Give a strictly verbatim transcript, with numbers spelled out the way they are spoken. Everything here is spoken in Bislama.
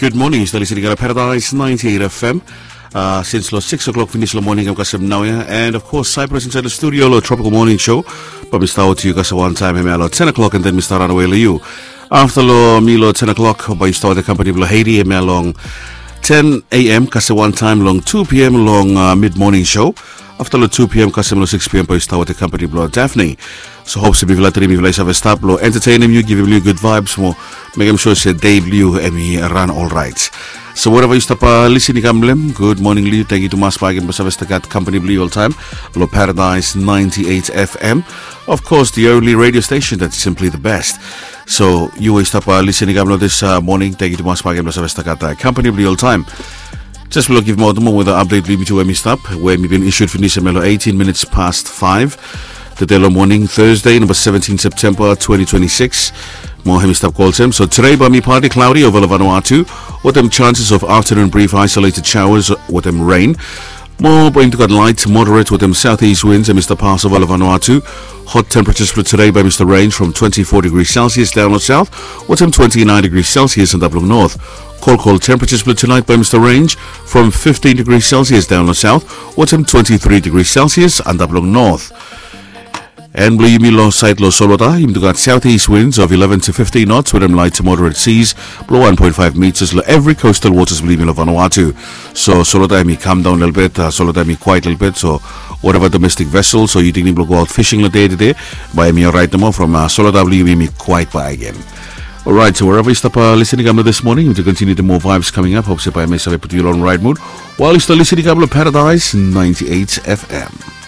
Gud moning, yu stap listening long Paradise ninety-eight F M. Uh, since long six o'clock finis long moning, em kasem naoia. And of course, Cyprus inside the studio long Tropical Morning Show. Bae mi stap wetem yu kasem wantaem hemia long ten o'clock, and then mi stap ranawe long yu. Afta long mi long ten o'clock, bae yu stap wetem company blong Haiti hemia long ten a.m. kasem wantaem long two p.m. long uh, mid morning show. Afta long two p.m. kasem long six p.m. bae yu stap wetem company blong Daphne. So hope se mifala tri mifala i save stap long entertainem yu, givim yu gud vibes mo mekem sure se dei blong yu em i ran olraet. So wherever yu stap uh, listening i kam long em, gud moning long yu. Tangkiu tumas bakegen blong save stap gat company blong yu oltaem long Paradise ninety-eight F M. Of course, the only radio station that's simply the best. So yu we i stap uh, listening i kam long this uh, moning, tangkiu tumas bakegen blong save stap gat uh, company blong yu oltaem. Just blong givim aot moa weather update blong yumi tu we mi stap, we mi bin issued finis hemia long eighteen minutes past five. Tede long moning, Thursday, number seventeen September twenty twenty-six. Mo hemi stap go olsem. So today bae mi partly cloudy over long Vanuatu, wetem chances of afternoon brief isolated showers wetem rain. Mo bae yumi tu gat light moderate wetem southeast winds hemi stap pas over long Vanuatu. Hot temperatures blong today bae mi stap range from twenty-four degrees Celsius daon long south wetem twenty-nine degrees Celsius antap long north. Cold, cold temperatures blong tonight bae mi stap range from fifteen degrees Celsius daon long south wetem twenty-three degrees Celsius antap long north. And blong yumi long saed long Solotar, yumi tu gat southeast winds of eleven to fifteen knots wetem light to moderate seas blong one point five meters long evri coastal waters blong yumi long Vanuatu. So Solotar hemi kam daon lelebet, uh, Solotar hemi kwaet lelebet. So whatever domestic vessels o yu tingting blong go aot fishing long dei tede, bae hemi oraet nomo from uh, Solotar blong yumi hemi kwaet bakegen. Alright, so wherever yu stap uh, listening i kam long this morning, yumi tu continue the more vibes coming up. Hope se bae hemi save putum yu long right mood while yu stap listening i kam long Paradise ninety-eight F M.